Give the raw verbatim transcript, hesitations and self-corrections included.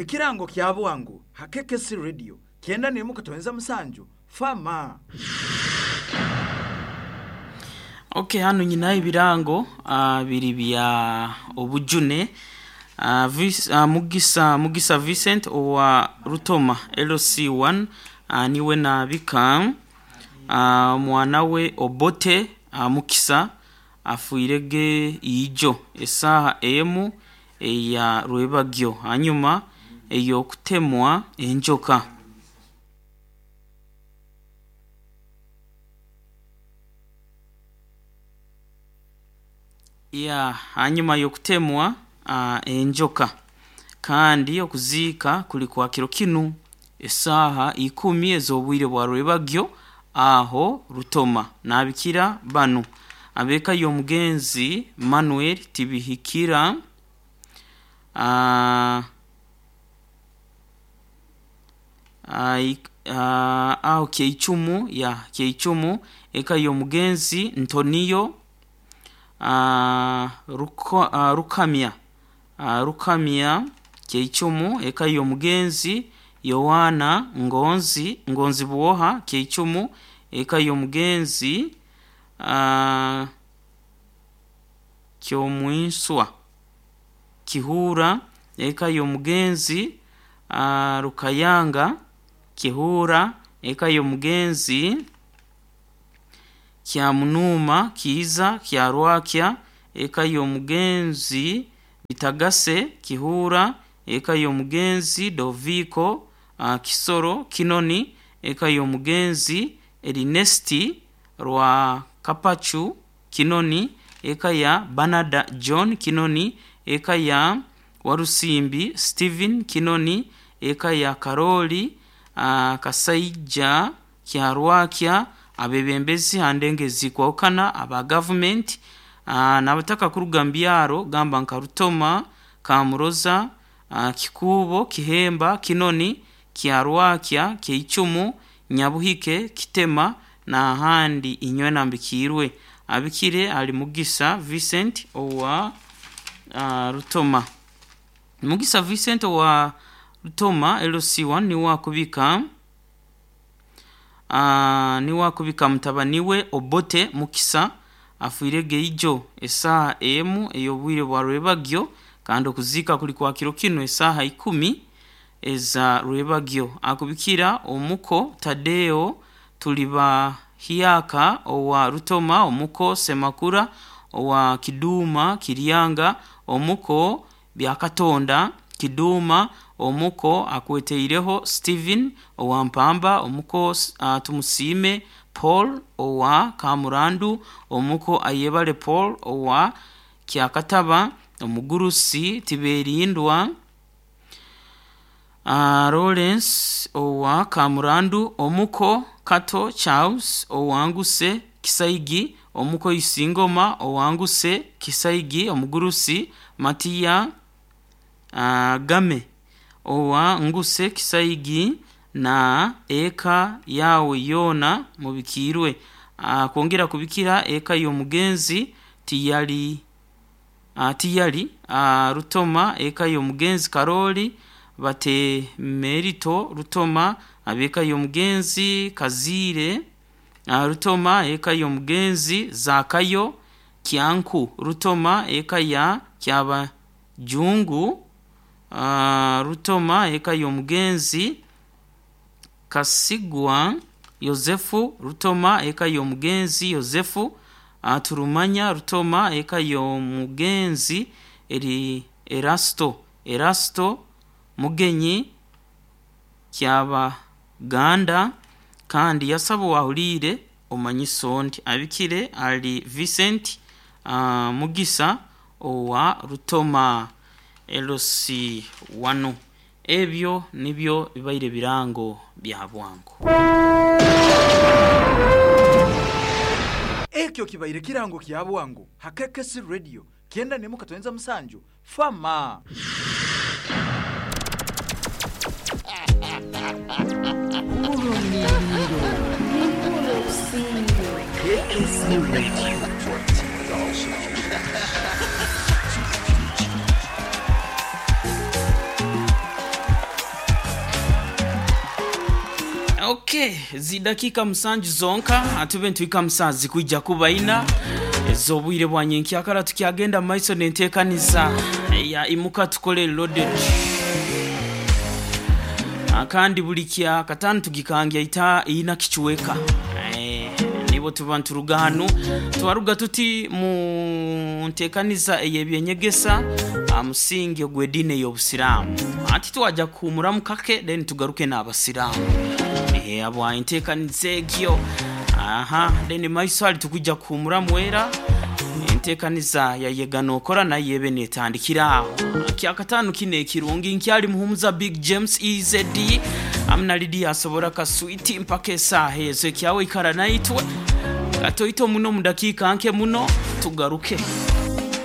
Ekirango kya bwangu ha K K C Radio kyenda n'emu katonyeza musanju fama. Okay, hano nyina ebirango uh, biri bya obujune uh, vis, uh, Mugisa Mugisa Vincent owa Rutoma L C one uh, niwe nabika uh, mwana we Obote uh, Mukisa afuirege ijo esaha emu eya rwebagyo hanyuma eyo kutemwa enjoka. Ya hanyuma yokutemwa uh, enjoka kandi okuzika kuli kwa kiro kinu esaha ikumi ez'obwire bwa rwebagyo aho Rutoma. Nabikira banu abeka y'omugenzi Manuel Tibihikira uh, uh, uh, aho Keichumu ya Keichumu eka y'omugenzi Ntonio Uh, ruko, uh, Rukamya uh, Rukamya Keichumu eka y'omugenzi Yohana Ngonzi Ngonzi Buoha Keichumu eka y'omugenzi uh, Kyomwinswa Kihura eka y'omugenzi uh, Rukayanga Kihura eka y'omugenzi Kyamunuma Kiiza Kyarwakya eka y'omugenzi Bitagase Kihura eka y'omugenzi Doviko uh, Kisoro Kinoni eka y'omugenzi Erinesti Rwa Kapachu Kinoni eka ya Banada John Kinoni eka ya Warusimbi Steven Kinoni eka ya Karoli uh, Kasaija Kyarwakya abebembezi handengezi kwawukana aba government uh, n'abataka kuruga mbyaro gamba nka Rutoma Kamuroza uh, Kikubo Kihemba Kinoni Kyarwakya Keichumu Nyabuhike Kitema na ahandi inywe nambikirwe. Abikire ali Mugisa Vincent owa uh, Rutoma. Mugisa Vincent owa Rutoma L C one ni wakubika Uh, ni wakubika mutabaniwe Obote Mukisa afuirege ijo esaha emu ey'obwire bwa rwebagyo kandi okuzika kuli kwa kiro kino esaha ikumi eza rwebagyo. Akubikira omuko Tadeo Tuliba Hiaka owa Rutoma, omuko Semakura owa Kiduma Kiryanga, omuko Byakatonda Kiduma, omuko akweteireho Steven owa Mpamba, omuko uh, Tumusime Paul owa Kamurandu, omuko Ayebale Paul owa Kyakataba, omugurusi Tiberindwa uh, Lawrence owa Kamurandu, omuko Kato Charles owanguse Kisaigi, omuko Isingoma owanguse Kisaigi, omugurusi Matia uh, Game owa nguse Kisaigi na eka yawe yona mubikirwe. Uh, kwongera kubikira eka y'omugenzi tiyali uh, tiyali uh, Rutoma, eka y'omugenzi Karoli bate Merito Rutoma, abeka y'omugenzi Kazire uh, Rutoma, eka y'omugenzi Zakayo Kyanku Rutoma, eka ya Kyaba Jungu Uh, Rutoma, eka y'omugenzi Kasigwa Yosefu Rutoma, eka y'omugenzi Yosefu uh, Turumanya Rutoma, eka y'omugenzi eri Erasto Erasto Mugenyi Kyabaganda kandi yasaba wahulire omanyiso ndi abikire ali Vincent uh, Mugisa owa Rutoma L C one. Ebyo nibyo bibaire birango bya bwangu. Ekyo kibaire kirango kya bwangu ha K K C Radio kyenda n'emu katonyeza musanju fama. K K C Radio. Okay, zidakika musanju zonka atube ntwika musazi kwijja kubaina ez'obwire bwa nyenkyakala tukyagenda mu maiso nenteekaniza ya imuka tukole loaded. Ah, kandi buli kya katano tugikangya ita ina kichweka eh, nibo tuba nturuga hano twaruga tuti mu nteekaniza ey'ebyenyegesa ah, musingi ogw'ediini ey'obusiraamu ati twajja kuhumuramu kake then tugaruke n'abasiraamu. Eh, abwa enteekaniza egyo aha then maiso ali tukujja kuhumuramu era enteekaniza yayega nokora naye ebe netandikira aho kyakataano kino ekirungi nkyali muhumuza Big James E Z D amuna Lidia asobora kaswiti mpaka esaaha ezo ekyawe ikara naitwe katoito muno mu dakiika nke muno tugaruke.